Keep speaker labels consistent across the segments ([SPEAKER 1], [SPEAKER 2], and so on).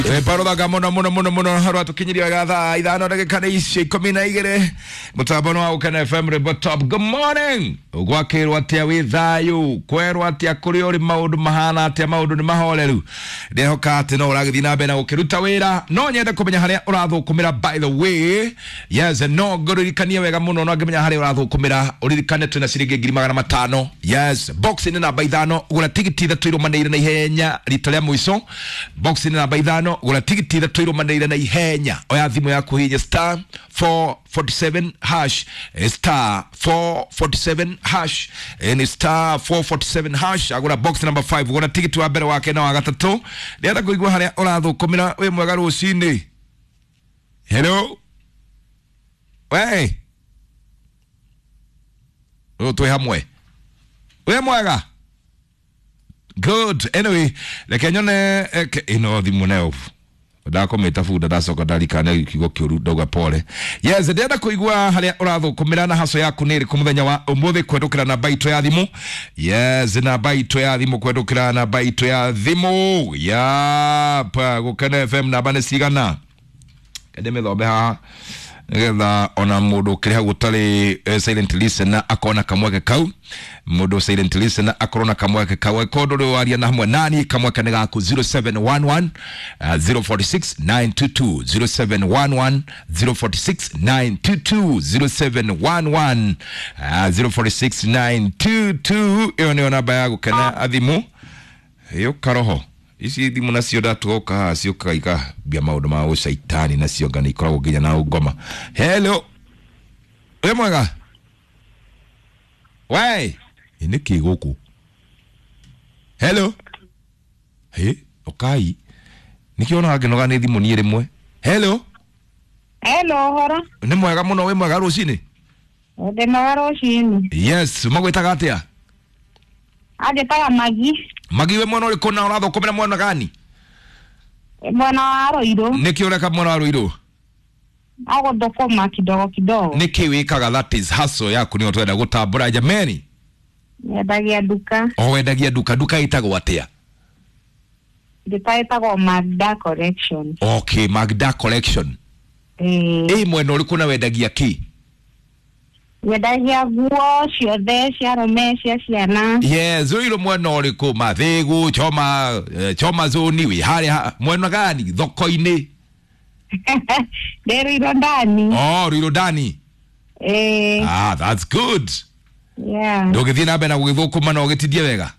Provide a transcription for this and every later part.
[SPEAKER 1] Parothaka muno muno muno muno rwatukinyiria wega thaa ithano ndagika nĩ icio ikũmi na igĩrĩ mũtambo nĩ wa Gũkena FM Rwĩmbo Top. Good morning, gwakĩrwo atĩa wĩ thayũ, kwerwo atĩa kũrĩa ũrĩ, maũndũ mahana atĩa, maũndũ nĩ mahoreru. Ndĩrehoka atĩ no ũragĩthiĩ na mbere na gũkĩruta wĩra. No nyende kũmenya harĩa ũrathũkũmĩra, by the way. Yes, no ngũririkanie wega mũno, no ngĩmenya harĩa ũrathũkũmĩra ũririkane twĩna ciringi 500,000. Yes, box nĩ namba 5, gũra tigiti ithatũ irũmanĩrĩire na ihenya rita rĩa mũico. Box nĩ namba 5, gũra tigiti ithatũ irũmanĩrĩire na ihenya. Oya thimũ yaku hihinya star 447 hash, star 447 hash, ni star 447 hash. Agũra box number 5, gũra tigiti wa mbere, wake na wa gatatũ. Ndĩrenda kũigua harĩa ũrathũkũmĩra. Wĩ mwega rũcinĩ. Hello, we rĩu twĩ hamwe. Wĩ mwega? Good. Anyway, reke nyone ĩno thimũ nayo ndakomĩta bunda, ndacoka ndarikana kiugo kĩũru, ndauga pole. Yes, ndĩrenda kũigua harĩa ũrathũkũmĩra na haco yaku nĩ ĩrĩkũ mũthenya wa ũmũthĩ kwendũkĩra namba itũ ya thimũ. Yes, namba itũ ya thimũ, kwendũkĩra namba itũ ya thimũ yapa Gũkena FM. Namba nĩ cigana? Kende mĩthombe haha nigetha ona mũndũ ũkĩrĩ hau ũtarĩ silent listener akona kamweke kau. Mũndũ silent listener akorwo na kamweke kau, angĩkorwo ndũrĩ waria na hamwe nani, kamweke nĩ gaku. 0711 046 922, 0711 046 922, 0711 046 922. Ĩyo nĩyo namba ya Gũkena athimu. Ĩyo karoho ici thimũ nacio ndatuoka haha ciũkaga ikambia maũndũ ma ũcaitani, nacio nga nĩ ikoragwo nginya na ũngoma. Hello, wĩ mwega? We ĩ nĩkĩ gũkũ? Hello, hĩ ũkai nĩkĩo onaga ngĩnoga nĩ thimũ niĩ rĩmwe. Hello.
[SPEAKER 2] Hello, horo.
[SPEAKER 1] Nĩ mwega mũno. Wĩ mwega rũcinĩ?
[SPEAKER 2] Ndĩ mwega rũcinĩ.
[SPEAKER 1] Yes, magwĩtaga atĩa?
[SPEAKER 2] Anjĩtaga Magi.
[SPEAKER 1] Magi, wĩ mwena ũrĩkũ na ũrathũkũmĩra mwena gani?
[SPEAKER 2] Mwena wa Rũirũ.
[SPEAKER 1] Nĩkĩ ũreka mwena wa Rũirũ?
[SPEAKER 2] Agũthũkũma kidogo kidogo.
[SPEAKER 1] Nĩkĩ wĩkaga? That is hustle yaku nĩyo twenda gũtambũra, jameni.
[SPEAKER 2] Nyendagia nduka.
[SPEAKER 1] O wendagia nduka. Nduka ĩtagwo atĩa?
[SPEAKER 2] Nduka ĩtagwo Magda Collection.
[SPEAKER 1] Okay, Magda Collection.
[SPEAKER 2] Ĩĩ.
[SPEAKER 1] Ĩ mwena ũrĩkũ na wendagia kĩ?
[SPEAKER 2] Nyendagia nguo ciothe cia arũme, cia ciana.
[SPEAKER 1] Yes, Rũirũ mwena ũrĩkũ? Mathĩgũ, choma, choma zoni, wĩ harĩa mwena gani thoko-inĩ?
[SPEAKER 2] Ndĩ Rũirũ ndani.
[SPEAKER 1] Oh, Rũirũ ndani.
[SPEAKER 2] Ĩĩ.
[SPEAKER 1] Ah, that's good.
[SPEAKER 2] Yeah.
[SPEAKER 1] Ndũgĩthiĩ na mbere na gũgĩthũkũma na ũgĩtindie wega.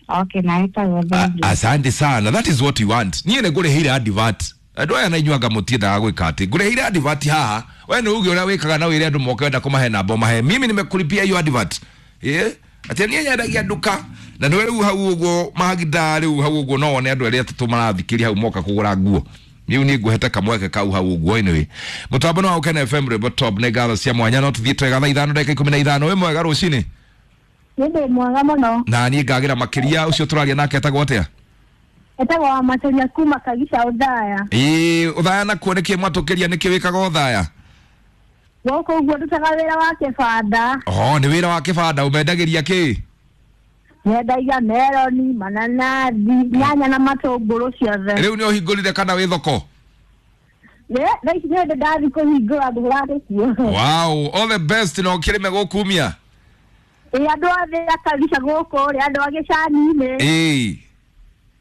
[SPEAKER 2] Okay, na ĩtagwo thengiũ.
[SPEAKER 1] Asante sana, that is what you want. Niĩ nĩ ngũrĩhĩire advert. Andũ aya na inyuĩ anga mũtiendaga gwĩka atĩ ngũrĩhĩire advert haha. We nĩ uge ũrĩa wĩkaga na wĩre andũ moke, wenda kũmahe namba ũmahe. Mimi nimekulipia hiyo advert. Yeah? Atĩ niĩ nyendagia nduka na nĩwe rĩu hau ũguo Magda, rĩu hau ũguo no wone andũ arĩa atatũ marathikĩria hau moka kũgũra nguo. Rĩu niĩ ngũhete kamweke kau hau ũguo. Anyway, mũtambo nĩ wa Gũkena FM Rwĩmbo Top. Nĩ ngatho cia mwanya. No tũthiĩ twega thaa 5:15. Wĩ mwega rũcinĩ?
[SPEAKER 3] Nĩ ndĩ mwega mũno.
[SPEAKER 1] Na niĩ ngagĩra makĩria. Ũcio tũraria nake etagwo atĩa?
[SPEAKER 3] Etagwo wa Maceria kuma Kagica Ũthaya.
[SPEAKER 1] Ĩĩ, Ũthaya nakuo nĩkĩ mwatũkĩria? Nĩkĩ wĩkaga Ũthaya?
[SPEAKER 3] Gũkũ ũguo ndutaga wĩra wa kĩbanda.
[SPEAKER 1] Oh, nĩ wĩra wa kĩbanda. Ũmendagĩria kĩ?
[SPEAKER 3] Nyendagia meroni, mananathi, nyanya na matũngũrũ ciothe.
[SPEAKER 1] Rĩu nĩ ũhingũrire kana wĩ thoko?
[SPEAKER 3] Thaa ici nĩ hĩndĩ ndathi kũhingũra, ngũraga kuo.
[SPEAKER 1] Wow, all the best na ũkĩrĩme gũkumia.
[SPEAKER 3] Ĩ, andũ othe a Kagica gũkũ rĩ, andũ a gĩcani-inĩ,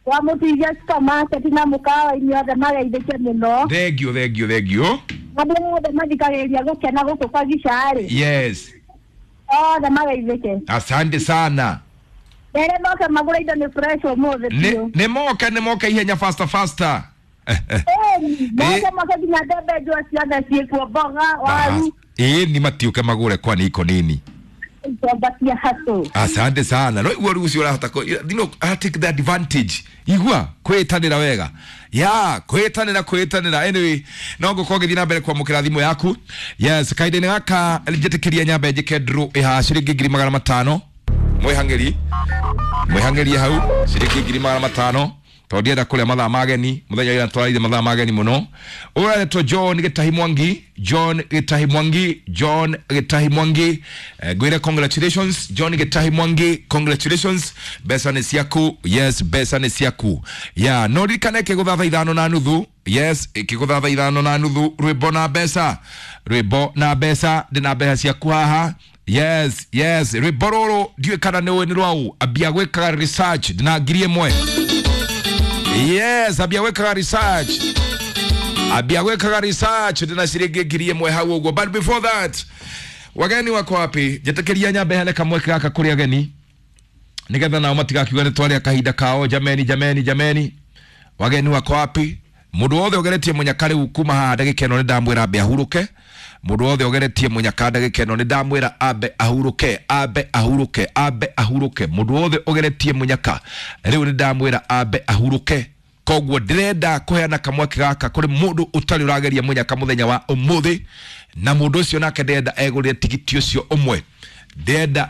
[SPEAKER 3] kwa Mũtithia supermarket na mũkawa-inĩ, othe mageithĩke mũno.
[SPEAKER 1] Thengio, thengio, thengio.
[SPEAKER 3] Andũ othe mathikagĩrĩria Gũkena gũkũ Kagica rĩ, othe mageithĩke.
[SPEAKER 1] Asante sana.
[SPEAKER 3] Rere moke magũre indo, nĩ fresh ũmũthĩ biũ.
[SPEAKER 1] Nĩ moke, nĩ moke ihenya, faster faster.
[SPEAKER 3] Moke, moke, nginya mbembe njũa ciothe ciĩkuo, mboga, waru.
[SPEAKER 1] Ĩĩ, ni matiũke magũre kwani iko nini.
[SPEAKER 3] Ikomba cia hatũ.
[SPEAKER 1] Asante sana. No igua rĩu ũcio ũrahota I take the advantage. Igua kwĩtanĩra wega ya kwĩtanĩra, kwĩtanĩra. Anyway, no ngũkorwo ngĩthiĩ na mbere kwamũkĩra thimũ yaku. Yes, kahinda-inĩ gaka njĩtĩkĩria nyambe njĩke draw ĩhaha ciringi 500,000. Mwĩhang'ĩri, mwĩhang'ĩrie hau ciringi 500,000. Tondũ ndienda kũrĩa mathaa mageni mũthenya ũrĩa twarire mathaa mageni mũno. Ũyũ aretwo John Gĩtahi Mwangi, John Gĩtahi Mwangi, John Gĩtahi Mwangi. Ngwĩre congratulations John Gĩtahi Mwangi, congratulations, mbeca nĩ ciaku. Yes, mbeca nĩ ciaku. Ya no ririkane kĩgũtha thaa 5:30. Yes, kĩgũtha thaa 5:30, rwĩmbo na mbeca, rwĩmbo na mbeca, ndĩna mbeca ciaku haha. Yes, yes, rwĩmbo rũrũ ndiũĩ kana nĩ ũĩ nĩ rwaũ. Ambia gwĩkaga research, ndĩna 1,000. Yes, ambia gwĩkaga research, ambia gwĩkaga research, ndĩna ciringi 1,000 hau ũguo. But before that, wageni wako wapi? Njĩtĩkĩria nyambe hene kamweke gaka kũrĩ ageni nĩgetha nao matigakiuga nĩ twarĩa kahinda kao. Jameni, jameni, jameni, wageni wako wapi? Mũndũ wothe ũgeretie mũnyaka rĩu kuma haha ndagĩka ĩno nĩ ndamwĩra ambe ahurũke. Mũndũ wothe ũgeretie mũnyaka ndagĩka ĩno nĩ ndamwĩra ambe ahurũke, ambe ahurũke, ambe ahurũke. Mũndũ wothe ũgeretie mũnyaka rĩu nĩ ndamwĩra ambe ahurũke. Koguo ndĩrenda kũheana kamweke gaka kũrĩ mũndũ ũtarĩ ũrageria mũnyaka mũthenya wa ũmũthĩ, na mũndũ ũcio nake ndĩrenda egũrĩre tigiti ũcio ũmwe, ndĩrenda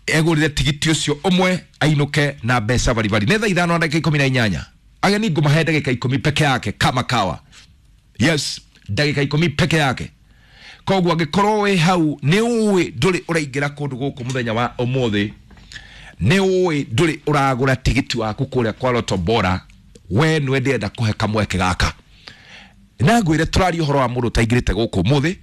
[SPEAKER 1] egũrĩre tigiti ũcio ũmwe ainũke na mbeca baribari. Nĩ thaa 5:18. Ageni ngũmahe ndagĩka 10 peke yake kama kawa. Yes, ndagĩka 10 peke yake. Koguo angĩkorwo wĩ hau nĩ ũĩ ndũrĩ ũraingĩra kũndũ gũkũ mũthenya wa ũmũthĩ, nĩ ũĩ ndũrĩ ũragũra tigiti waku kũrĩa kwa Lotto Bora, we nĩwe ndĩrenda kũhe kamweke gaka. Na ngwĩre tũraria ũhoro wa mũndũ ũtaingĩrĩte gũkũ ũmũthĩ,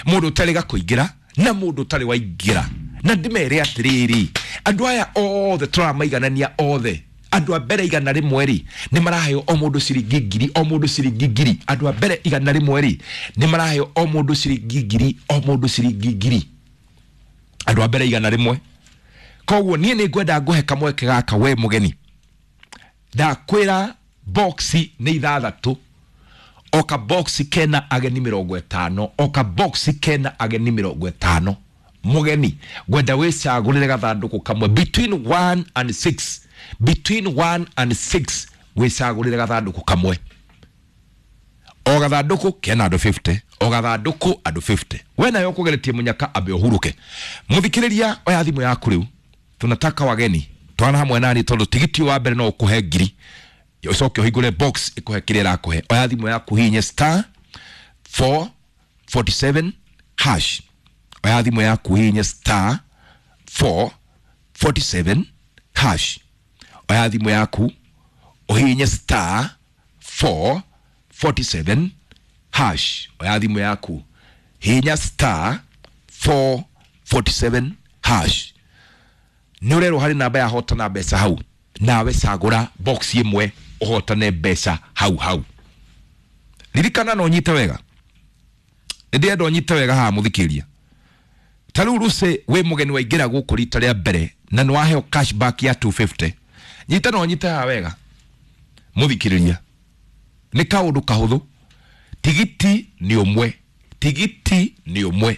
[SPEAKER 1] mũndũ ũtarĩ kũingĩra na mũndũ ũtarĩ waingĩra. Na ndĩmere atĩrĩrĩ, andũ aya othe tũramaiganania othe, andũ a mbere 100 rĩ nĩ maraheo o mũndũ ciringi 1,000, o mũndũ ciringi 1,000. Andũ a mbere 100 rĩ nĩ maraheo o mũndũ ciringi 1,000, o mũndũ ciringi 1,000. Andũ a mbere 100. Koguo niĩ nĩ ngwenda ngũhe kamweke gaka we mũgeni. Ndakwĩra boxi nĩ 6, o ka boxi kena ageni 50, o ka boxi kena ageni 50. Mũgeni ngwenda wĩcagũrĩre gathandũkũ kamwe between 1 and 6, between 1 and 6 wĩcagũrĩre gathandũkũ kamwe. O gathandũkũ kena andũ 50, o gathandũkũ andũ 50. We nayo ũkũgeretie mũnyaka ambe ũhurũke. Mũthikĩrĩria, oya thimũ yaku rĩu, tunataka wageni twana hamwe nani tondũ tigiti wa mbere no ũkũhe 1,000, ũcoke ũhingũre box ĩkũhe kĩrĩa ĩrakũhe. Oya thimũ yaku hihinye star 447 hash. Oya thimũ yaku hihinye star 447 hash. Oya thimũ yaku ũhihinye star 447 hash. Oya thimũ yaku hihinya star 447 hash. Nĩ ũrerwo harĩ namba ya hotana mbeca hau, nawe cagũra box ĩmwe ũhotane mbeca hau hau. Ririkana na ũnyite wega, ndĩrenda ũnyite wega haha mũthikĩria. Ta rĩu Lucy wĩ mũgeni waingĩra gũkũ rita rĩa mbere na nĩ waheo cashback ya 250. Nyita na ũnyite haha wega mũthikĩrĩria, nĩ kaũndũ kahũthũ. Tigiti nĩ ũmwe, tigiti nĩ ũmwe.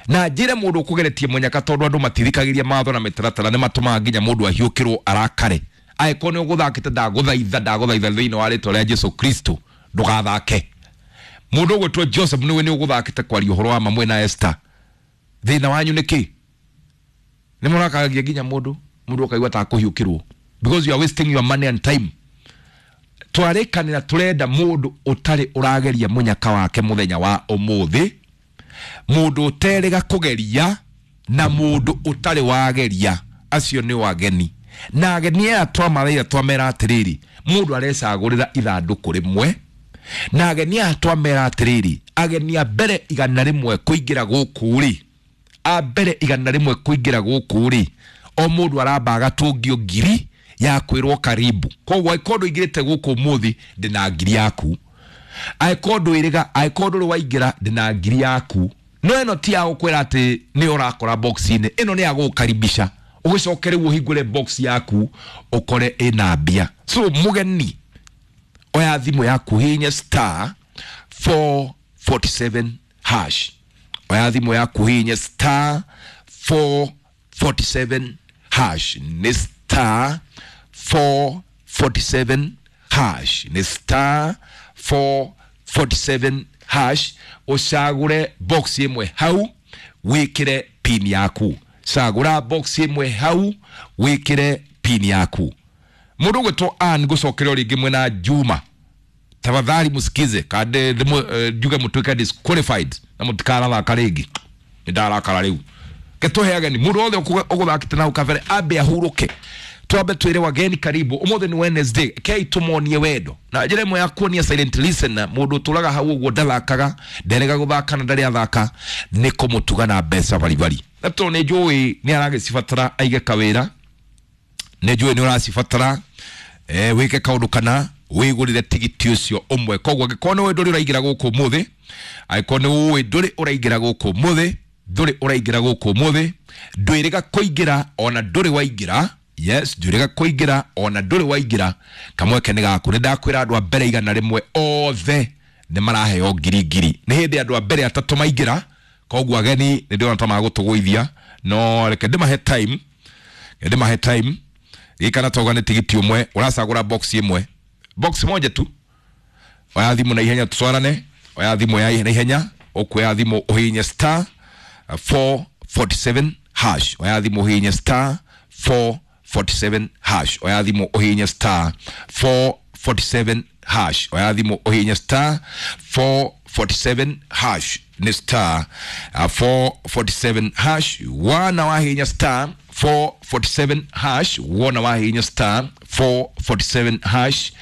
[SPEAKER 1] Na njĩre mũndũ ũkũgeretie mũnyaka, tondũ andũ matithikagĩria mawatho na mĩtaratara nĩ matũmaga nginya mũndũ ahiũkĩrwo arakare. Angĩkorwo nĩ ũgũthakĩte, ndagũthaitha, ndagũthaitha thĩinĩ wa rĩtwa rĩa Jesu Kristo ndũgathake. Mũndũ ũgwĩtwo Joseph nĩwe nĩ ũgũthakĩte kwaria ũhoro wa mamwe na Esther. Thĩna wanyu nĩ kĩ? Nĩ mũrakaragia nginya mũndũ, mũndũ ũkaigua ta akũhiũkĩrwo because you are wasting your money and time. Twarĩkanĩra tũrenda mũndũ ũtarĩ ũrageria mũnyaka wake mũthenya wa ũmũthĩ, mũndũ ũterĩga kũgeria na mũndũ ũtarĩ wageria. Acio nĩ wageni. Na ageni aya twamaraira twamera atĩrĩrĩ, mũndũ arecagũrĩra ithandũkũ rĩmwe. Na ageni aya twamera atĩrĩrĩ, ageni a mbere 100 kũingĩra gũkũ rĩ, a mbere 100 kũingĩra gũkũ rĩ, o mũndũ aramba agatũngio 1,000 ya kwĩrwo karibu. Koguo angĩkorwo ndũingĩrĩte gũkũ ũmũthĩ, ndĩna 1,000 yaku. Angĩkorwo ndwĩrĩga, angĩkorwo ndũrĩ waingĩra, ndĩna 1,000 yaku. No ĩno ti ya gũkwĩra atĩ nĩ ũrakora box-inĩ, ĩno nĩ ya gũgũkaribisha ũgĩcoke rĩu ũhingũre box yaku ũkore ĩna mbia. So mũgeni, oya thimũ yaku hihinya star 447 hash. Oya thimũ yaku hihinya star 447 hash. Nĩ star 447 hash. Nĩ star 447 hash. Ũcagũre box ĩmwe hau wĩkĩre pin yaku. Cagũra box ĩmwe hau wĩkĩre pin yaku. Mundu gwetwo Ann gucokerio ringi mwena Juma, tafadhali musikize kande njuge mutuike disqualified na mutikarathaka ringi. Ni ndarakara riu. Ketũhe ageni mũndũ wothe ũgũthakĩte na kabere ambe ahurũke, twambe twĩre wageni karibu. Ũmũthĩ nĩ Wednesday, kei tũmonie wendo na njĩra ĩmwe ya kuonia silent listener mũndũ ũtũraga hau ũguo ndathakaga, nderega gũthaka na ndarĩ athaka, nĩ kũmũtuga na mbeca baribari. Na tondũ nĩ njũĩ nĩ aragĩcibatara aige kawĩra, nĩ njũĩ nĩ ũracibatara wĩke kaũndũ kana wĩgũrĩre tigiti ũcio ũmwe. Koguo angĩkorwo nĩ ũĩ ndũrĩ ũraingĩra gũkũ ũmũthĩ, angĩkorwo nĩ ũĩ ndũrĩ ũraingĩra gũkũ ũmũthĩ, ndũrĩ ũraingĩra gũkũ ũmũthĩ, ndwĩrĩga kũingĩra ona ndũrĩ waingĩra. Yes, ndwĩrĩga kũingĩra ona ndũrĩ waingĩra, kamweke nĩ gaku. Nĩ ndakwĩra andũ a mbere 100 othe nĩ maraheo ngiri ngiri. Nĩ hĩndĩ andũ a mbere atatũ maingĩra, koguo ageni nĩ ndĩrona ta magũtũgũithia, no reke ndĩmahe time, ndĩmahe time. Gĩkana toga nĩ tigiti ũmwe, ũracagũra box ĩmwe, box moja tu. Oya thimũ na ihenya tutwarane, oya thimũ ya na ihenya, ũkuoya thimũ ũhihinye star 447 hash. Oya thimũ ũhihinye star 447 hash. Oya thimũ ũhihinye star 447 hash. Oya thimũ ũhihinye star 447 hash. Nĩ star 447 hash. Wana wahihinya star 447 hash, wona wahihinya star 447 hash,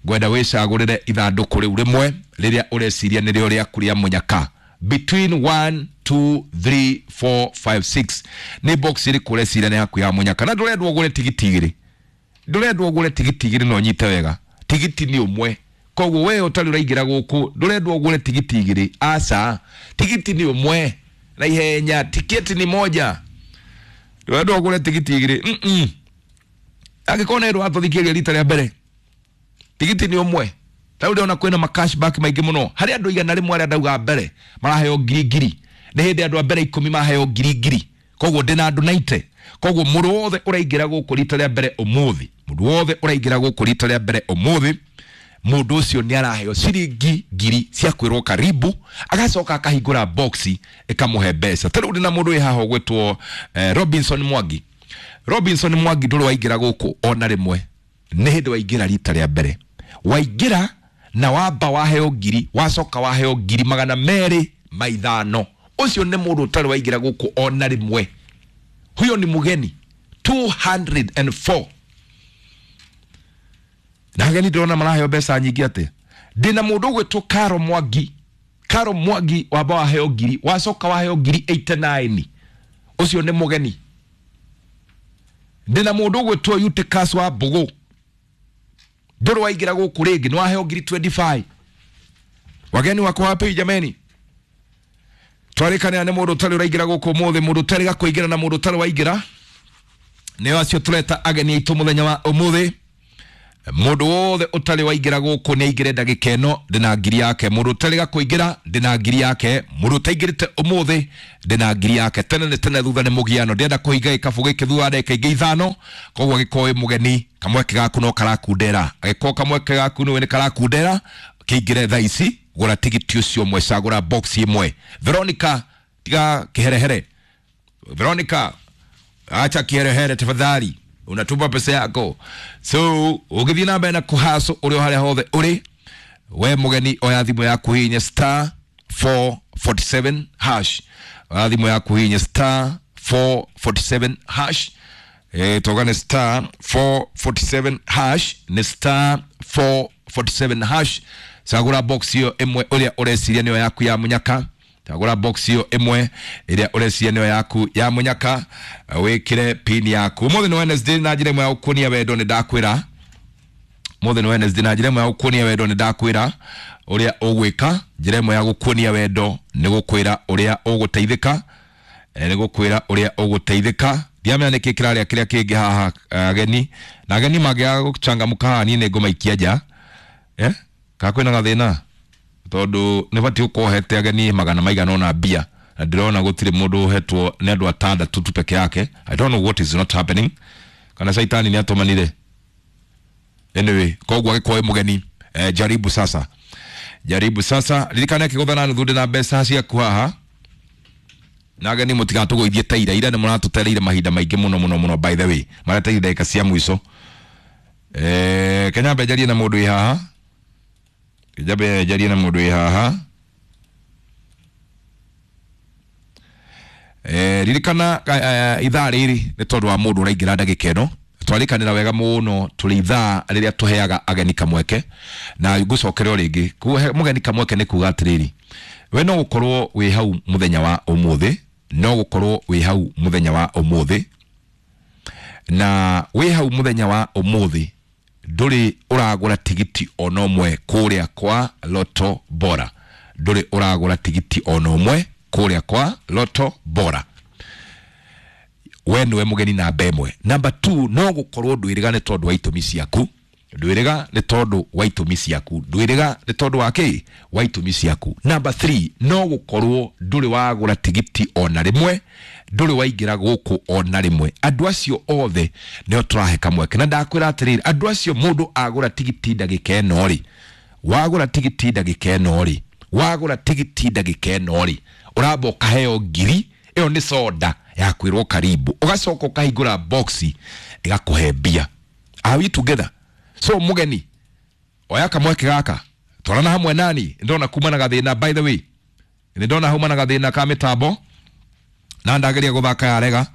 [SPEAKER 1] ngwenda wĩcagũrĩre ithandũkũ rĩu rĩmwe rĩrĩa ũreciria nĩrĩo rĩaku rĩa mũnyaka. Between 1 2 3 4 5 6 nĩ box ĩrĩkũ ũreciria nĩ yaku ya mũnyaka. Na ndũrendwo ũgũre tigiti igĩrĩ, ndũrendwo ũgũre tigiti igĩrĩ, no nyite wega, tigiti nĩ ũmwe. Koguo we ũtarĩ ũraingĩra gũkũ ndũrendwo ũgũre tigiti igĩrĩ, aca, tigiti nĩ ũmwe na ihenya, tiketi ni moja. Ndũrendwo ũgũre tigiti igĩrĩ. Angĩkorwo nĩ watũthikĩrĩria rita rĩa mbere, tigiti nĩ ũmwe. Rĩu ndĩrona kwĩna ma cashback maingĩ mũno harĩ andũ 100 arĩa ndauga mbere maraheo ngiri ngiri. Nĩ hĩndĩ andũ a mbere 10 maheo ngiri ngiri, koguo ndĩna andũ 90. Koguo mũndũ wothe ũraingĩra gũkũ rita rĩa mbere ũmũthĩ, mũndũ wothe ũraingĩra gũkũ rita rĩa mbere ũmũthĩ, mũndũ ũcio nĩ araheo ciringi ngiri cia kwĩrwo karibu, agacoka akahingũra boxi ĩkamũhe mbeca. Ta rĩu ndĩna mũndũ wĩ haha ũgwĩtwo Robinson Mwangi. Robinson Mwangi ndũrĩ waingĩra gũkũ ona rĩmwe, nĩ hĩndĩ waingĩra rita rĩa mbere. Waingĩra na wamba waheo ngiri, wacoka waheo ngiri 205. Ũcio nĩ mũndũ ũtarĩ waingĩra gũkũ ona rĩmwe, huyo ni mugeni 204. Na ageni ndĩrona maraheo mbeca nyingĩ atĩ. Ndĩna mũndũ ũgwĩtwo Karo Mwangi. Karo Mwangi wamba waheo ngiri, wacoka waheo ngiri 89. Ũcio nĩ mũgeni. Ndĩna mũndũ ũgwĩtwo Eutychus wa Mbũgũ, ndũrĩ waingĩra gũkũ rĩngĩ, nĩ waheo ngiri 25. Wageni wako wapi jameni? Twarĩkanĩra nĩ mũndũ ũtarĩ ũraingĩra gũkũ ũmũthĩ, mũndũ ũtarĩ gakũingĩra na mũndũ ũtarĩ waingĩra, nĩo acio tũreta ageni aitũ mũthenya wa ũmũthĩ. Mũndũ wothe ũtarĩ waingĩra gũkũ nĩ aingĩre ndagĩka ĩno, ndĩna ngiri yake. Mũndũ ũtarĩ gakũingĩra ndĩna ngiri yake. Mũndũ ũtaingĩrĩte ũmũthĩ ndĩna ngiri yake. Tene nĩ tene, thutha nĩ mũgiano. Ndĩrenda kũhinga gĩkabũ gĩkĩ thutha wa ndagĩka ingĩ 5. Koguo angĩkorwo wĩ mũgeni, kamweke gaku no karakundera. Angĩkorwo kamweke gaku nĩwe nĩ karakundera, kĩingĩre thaa ici, gũra tigiti ũcio ũmwe, cagũra box ĩmwe. Veronica, tiga kĩherehere. Veronica, acha kiherehere tafadhali, unatupa pesa yako. So ũgĩthiĩ na mbere na kũhaco ũrĩ o harĩa hothe ũrĩ, we mũgeni oya thimũ yaku hihinye star 447 hash. Oya thimũ yaku hihinye star 447 hash. Toga nĩ star 447 hash, nĩ star 447 hash. Cagũra box ĩyo ĩmwe ũrĩa ũreciria nĩyo yaku ya mũnyaka. Cagũra box ĩyo ĩmwe ĩrĩa ũreciria nĩyo yaku ya mũnyaka, wĩkĩre pin yaku. Ũmũthĩ nĩ Wednesday na njĩra ĩmwe ya gũkuonia wendo nĩ ndakwĩra. Ũmũthĩ nĩ Wednesday na njĩra ĩmwe ya gũkuonia wendo nĩ ndakwĩra ũrĩa ũgwĩka. Njĩra ĩmwe ya gũkuonia wendo nĩ gũkwĩra ũrĩa ũgũteithĩka, nĩ gũkwĩra ũrĩa ũgũteithĩka. Ndiamenya nĩkĩ kĩrarĩa kĩrĩa kĩngĩ haha ageni, na ageni mangĩaga gũchangamka haha niĩ nĩ ngũmaikia nja. Kana kwĩna gathĩna? Tondũ nĩ batiĩ gũkorwo ũhete ageni magana maigana ũna mbia, na ndĩrona gũtirĩ mũndũ ũhetwo, nĩ andũ atandatũ tu peke yake. I don't know what is not happening. Kana caitani nĩ atũmanire. Anyway, koguo angĩkorwo wĩ mũgeni, jaribu sasa, jaribu sasa. Ririkana kĩgũtha na nuthu ndĩna mbeca ciaku haha, na ageni mũtigatũgũithie ta ira. Ira nĩ mũratũtereire mahinda maingĩ mũno mũno mũno, by the way mareteire ndagĩka cia mũico. Kenya mbe njarie na mũndũ wĩ haha. Njambe njarie na mũndũ wĩ haha. Ririkana ithaa rĩrĩ nĩ tondũ wa mũndũ ũraingĩra ndagĩka ĩno. Twarikanĩra wega mũno tũrĩ ithaa rĩrĩa tũheaga ageni kamweke na ngũcokere o rĩngĩ. Kũhe mũgeni kamweke nĩ kuga atĩrĩrĩ, we no gũkorwo wĩ hau mũthenya wa ũmũthĩ, no gũkorwo wĩ hau mũthenya wa ũmũthĩ, na wĩ hau mũthenya wa ũmũthĩ ndũrĩ ũragũra tigiti ona ũmwe kũrĩa kwa Lotto Bora, ndũrĩ ũragũra tigiti ona ũmwe kũrĩa kwa Lotto Bora. We nĩwe mũgeni namba ĩmwe. Namba 2, no gũkorwo ndwĩrĩga nĩ tondũ wa itũmi ciaku, ndwĩrĩga nĩ tondũ wa itũmi ciaku, ndwĩrĩga nĩ tondũ wa kĩ? Wa itũmi ciaku. Namba 3, no gũkorwo ndũrĩ wagũra tigiti ona rĩmwe, ndũrĩ waingĩra gũkũ ona rĩmwe. Andũ acio othe nĩo tũrahe kamweke, na ndakwĩra atĩrĩrĩ, andũ acio mũndũ agũra tigiti ndagĩka ĩno rĩ, wagũra tigiti ndagĩka ĩno rĩ, wagũra tigiti ndagĩka ĩno rĩ, ũramba ũkaheo ngiri ĩyo nĩ soda ya kwĩrwo karibu, ũgacoka ũkahingũra boxi ĩgakũhe mbia. Are we together? So mũgeni oya kamweke gaka, twarana hamwe nani. Ndona kuma na gathĩna, by the way nĩ ndona hauma na gathĩna ka mĩtambo na ndageria gũthaka yarega.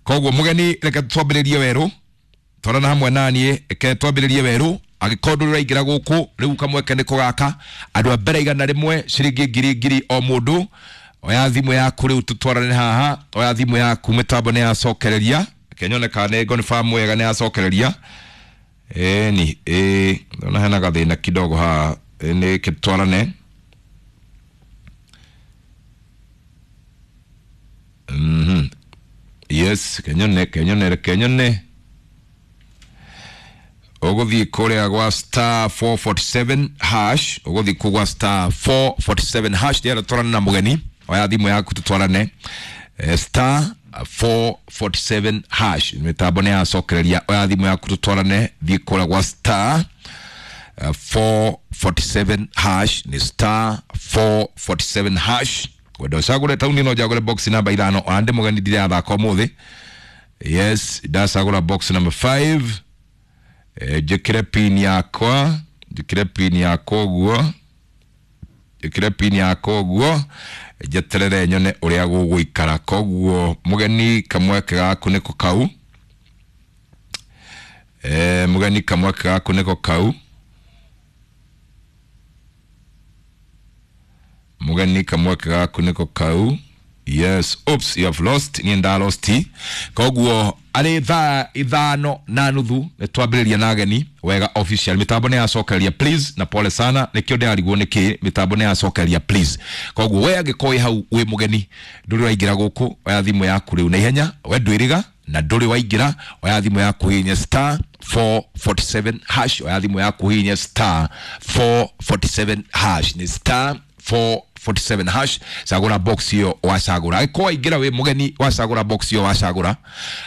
[SPEAKER 1] Koguo mũgeni reke twambĩrĩrie werũ, twarana hamwe nani, reke twambĩrĩrie werũ. Angĩkorwo ndũrĩ ũraingĩra gũkũ rĩu kamweke nĩko gaka, andũ a mbere 100 ciringi ngiri ngiri o mũndũ. Oya thimũ yaku rĩu tũtwarane haha, oya thimũ yaku, mĩtambo nĩ yacokereria. Reke nyone kana nĩ confirm wega nĩ yacokereria. Ĩni ĩ ndona hena gathĩna kidogo haha, nĩ twarane. Yes, kenyone kenyone kenyone. Ũgũthiĩ kũrĩa gwa star 447 hash, ũgũthiĩ kũ gwa star 447 hash, ndĩrenda twarane na mũgeni. Oya thimũ yaku tũtwarane. Star 447 hash, mĩtambo nĩ yacokereria. Oya thimũ yaku tũtwarane, thiĩ kũrĩa gwa star 447 hash, nĩ star 447 hash. Kwenda ũcagũre taũni no njagũre box namba 5, ona ndĩ mũgeni ndirathaka ũmũthĩ. Yes, ndacagũra box number 5. Njĩkĩre pin yakwa, njĩkĩre pin yakwa ũguo, njĩkĩre pin yakwa ũguo, njeterere nyone ũrĩa gũgũikara. Koguo mũgeni kamweke gaku nĩko kau. Mũgeni kamweke gaku nĩko kau. Mũgeni kamweke gaku nĩko kau. Yes, oops, you have lost. Niĩ nda lost. Koguo arĩ thaa 5:30 nĩ twambĩrĩria na ageni wega official. Mĩtambo nĩ yacokereria please, na pole sana nĩkĩo ndĩrarigwo nĩkĩ mĩtambo nĩ yacokereria please. Koguo we angĩkorwo wĩ hau wĩ mũgeni ndũrĩ waingĩra gũkũ, oya thimũ yaku rĩu na ihenya, we ndwĩrĩga na ndũrĩ waingĩra, oya thimũ yaku hihinya star 447 hash, oya thimũ yaku hihinya star 447 hash, nĩ star 447 hash. Cagũra box ĩyo wacagũra. Angĩkorwo waingĩra wĩ mũgeni wacagũra box ĩyo wacagũra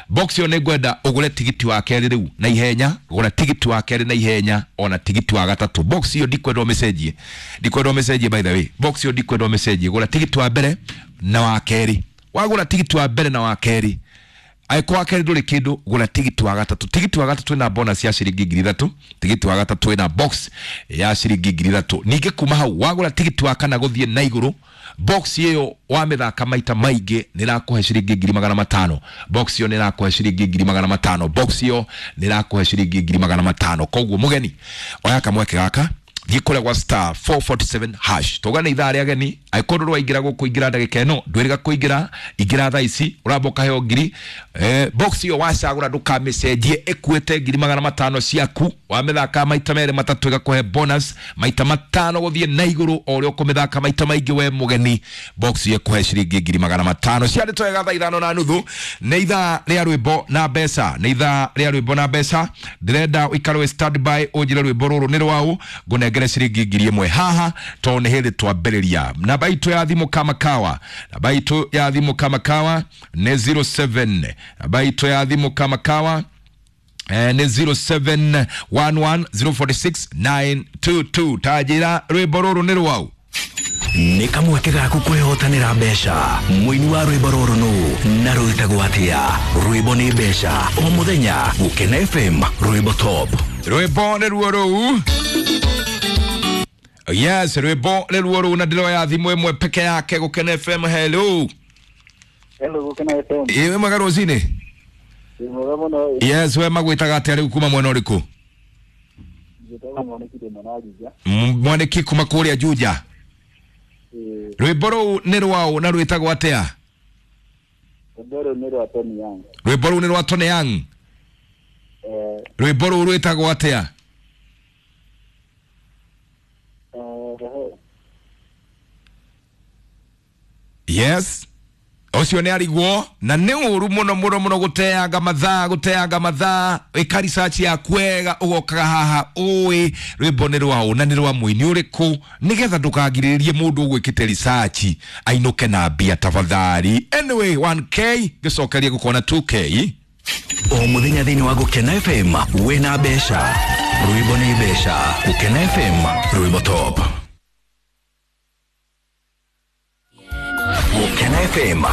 [SPEAKER 1] box ĩyo, nĩ ngwenda ũgũre tigiti wa kerĩ rĩu na ihenya, gũra tigiti wa kerĩ na ihenya, ona tigiti wa gatatũ. Box ĩyo ndikwenda ũmĩcenjie, ndikwenda ũmĩcenjie by the way, box ĩyo ndikwenda ũmĩcenjie. Gũra tigiti wa mbere na wa kerĩ, wagũra tigiti wa mbere na wa kerĩ, angĩkorwo wa kerĩ ndũrĩ kĩndũ, gũra tigiti wa gatatũ. Tigiti wa gatatũ ĩna bonus ya ciringi 3,000, tigiti wa gatatũ ĩna box ya ciringi 3,000. Ningĩ kuma hau wagũra tigiti wa kana gũthiĩ na igũrũ, box ĩyo wamĩthaka maita maingĩ nĩ ĩrakũhe ciringi 500,000. Box ĩyo nĩ ĩrakũhe ciringi 500,000. Box ĩyo nĩ ĩrakũhe ciringi 500,000. Koguo mũgeni oya kamweke gaka, thiĩ kũrĩa gwa star 447 hash. Tauga nĩ ithaa rĩa ageni, angĩkorwo ndũrĩ waingĩra gũkũ ingĩra ndagĩka ĩno, ndwĩrĩga kũingĩra, ingĩra thaa ici, ũramba ũkaheo ngiri. Box ĩyo wacagũra ndũkamĩcenjie, ĩkuĩte 500,000 ciaku. Wamĩthaka maita merĩ matatũ ĩgakũhe bonus maita 5 gũthiĩ na igũrũ, o ũrĩa ũkũmĩthaka maita maingĩ we mũgeni, box ĩyo ĩkũhe ciringi 500,000. Ciarĩ twega thaa 5:30, nĩ ithaa rĩa rwĩmbo na mbeca, nĩ ithaa rĩa rwĩmbo na mbeca. Ndĩrenda ũikare wĩ standby ũnjĩre rwĩmbo rũrũ nĩ rwaũ, ngũnengere ciringi 1,000 haha tondũ nĩ hĩndĩ twambĩrĩria. Namba itũ ya thimũ kama kawa, namba itũ ya thimũ kama kawa nĩ 07, namba itũ ya thimũ kama kawa nĩ 0711046922. Tanjĩra rwĩmbo rũrũ nĩ rwaũ.
[SPEAKER 4] Nĩ kamweke gaku kwĩhotanĩra mbeca. Mũini wa rwĩmbo rũrũ nũ na rwĩtagwo atĩa? Rwĩmbo nĩ mbeca o mũthenya Gũkena FM, rwĩmbo top.
[SPEAKER 1] Rwĩmbo nĩ ruo rũu. Yes, rwĩmbo nĩ ruo rũu na ndĩroya thimũ ĩmwe peke yake. Gũkena FM, hello.
[SPEAKER 5] Hello, Gũkena FM.
[SPEAKER 1] Ĩ, wĩ mwega rũcinĩ?
[SPEAKER 5] Wĩ mwega mũno.
[SPEAKER 1] Yes, we magwĩtaga atĩa rĩu, kuma mwena ũrĩkũ?
[SPEAKER 5] Njĩtagwo Mwanĩki, ndĩ mwena wa Juja.
[SPEAKER 1] Mwanĩki kuma kũrĩa Juja.
[SPEAKER 5] Ĩĩ.
[SPEAKER 1] Rwĩmbo rũu nĩ rwaũ na rwĩtagwo atĩa?
[SPEAKER 5] Rwĩmbo rũu nĩ rwa Tony Young.
[SPEAKER 1] Rwĩmbo rũu nĩ rwa Tony Young?
[SPEAKER 5] Eh.
[SPEAKER 1] Rwĩmbo rũu rwĩtagwo atĩa?
[SPEAKER 5] Eh,
[SPEAKER 1] Yes, ũcio nĩ arigwo na nĩ ũru mũno mũno mũno gũteanga mathaa, gũteanga mathaa. Ĩka research yaku wega, ũgokaga haha ũĩ rwĩmbo nĩ rwaũ na nĩ rwa mũini ũrĩkũ, nĩgetha ndũkagirĩrĩrie mũndũ ũgwĩkĩte research ainũke na mbia tafadhali. Anyway, 1K ngĩcokeria gũkona 2K.
[SPEAKER 4] O muthenya thĩinĩ wa Gũkena FM wĩna mbeca, rwĩmbo nĩ mbeca. Gũkena FM, rwĩmbo top. Gũkena FM.